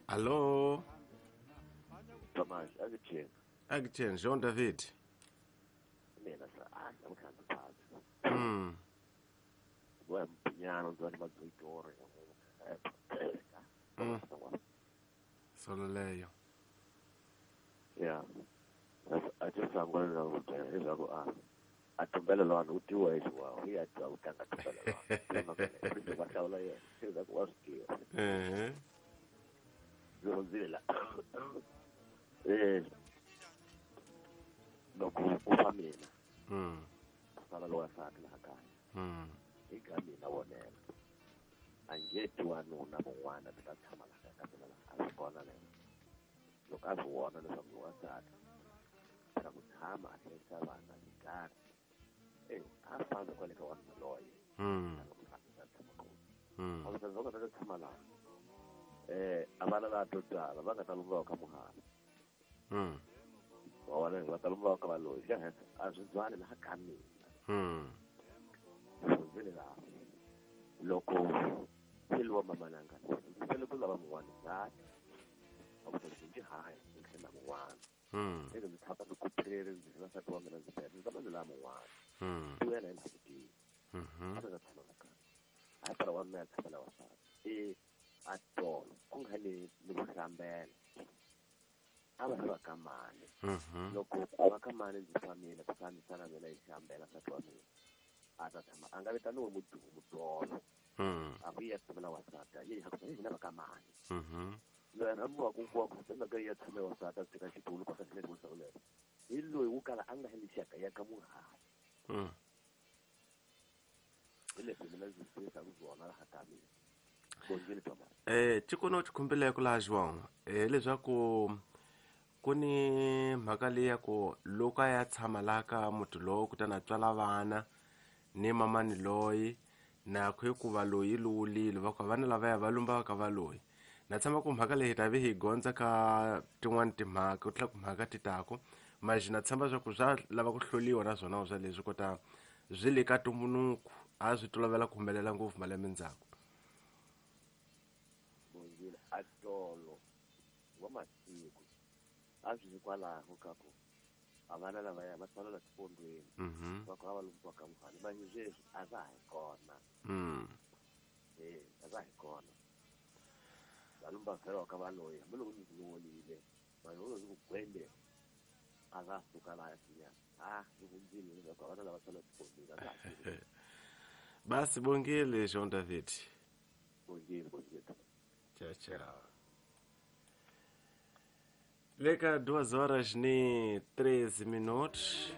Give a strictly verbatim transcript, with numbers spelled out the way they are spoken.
Alô? Tomás, Agutien. Agutien, João David. Mina sa ah, I'm kind of tired. Mm. Well, piano do ma oito horas. Mm. Solo leyo. Yeah. I just I'm going to go ah. A tumbela lo anu tiwa iswa. Hi a twa utanga tumbela lo. Ba kaula ye. Sila ko waski. Eh. Zila. Eh. Loko ku famina. Mm. Sala lo asaka la kaya. Mm. Ika mina wonela. Angethi wanuna mun'wana ni ta tshama laha ka mina laha a swi kona lero. Loko a swi vona leswaku ni wansati phela ku tshama a hlayisa vana hi nkarhi e a fambi kwale ka wanuna loye. Mm. A nga a tshama kona. Mm. Wansati va nga ta tshama laha eh a vana la to tala va nga ta lumba ka muhala. Mm. Wa vona va ta lumba ka valoyi xa henhla a swi byali laha ka mina. Mm. Swi laha loko phela mamananga phela ku lava mun'wana ngati a ku ndzi ndzi haya ndzi tlhela mun'wana. Mm. Eka ndzi tshama ndzi kuphelele ndzi tlhela nsati wa mina ndzi phela ndzi tshama ndzi lava mun'wana. Mm. Ti wena hi ndzi Mhm. a nga tshama la kaya a phela wa mina a tshama la wasati e a tolo ku nga ni ni ku hlambela a va va ka mani. Mhm. Loko a va ka mani ndzi famile kutani sala mina yi hlambela nsati wa mina a ta tshama a nga vitaniwi mudumu mudolo. Mm. A ku ya tshama wasati ye ha ku hina va ka mani. Mhm. Loyi rhambiwa ku ku ku tshama ka ya tshama wasati a tshika xitulu ku sa xile ku lero hi loyi wu kala a nga heli xaka ya ka muhali. Mm. Hi leswi mina ndzi swi swona laha ka mina. Bongile Thomas. Eh tikono tikumbeleko laha João eh leswaku ku ni mhaka leyi ya ku loko a ya tshama laha ka muti lowu kutani a tswala vana ni mamani loyi na ku hikuva loyi luwulile va ku vana lavaya va lumba ka va loyi na tshama ku mhaka leyi ta ve hi gondza ka tin'wani timhaka ku tlula ku mhaka ti tako manje na tshemba swa ku swa lava ku hloliwa na swona swa leswi kota swi le ka tumbunuku a swi tolovela ku humelela ngopfu malembe ndzhaku. Bongile a tolo wa masiku a swi hikwalaho ka ku a vana lavaya va tswalela xifondweni. Mhm. Va ku va lumbiwa ka muhali manje sweswi a va ha hi kona. Mm. Eh a va hi kona va lumba vhela ka valoyi hambiloko ndzi luwolile vanhu vo ndzi ku gwende a va suka laha sinya a ndzi hundzile leswaku vana lava tswala xifondweni a va ha. Basi bongile João David. Bongile, bongile. Tchau, tchau. Leka duas horas ni treze minutos.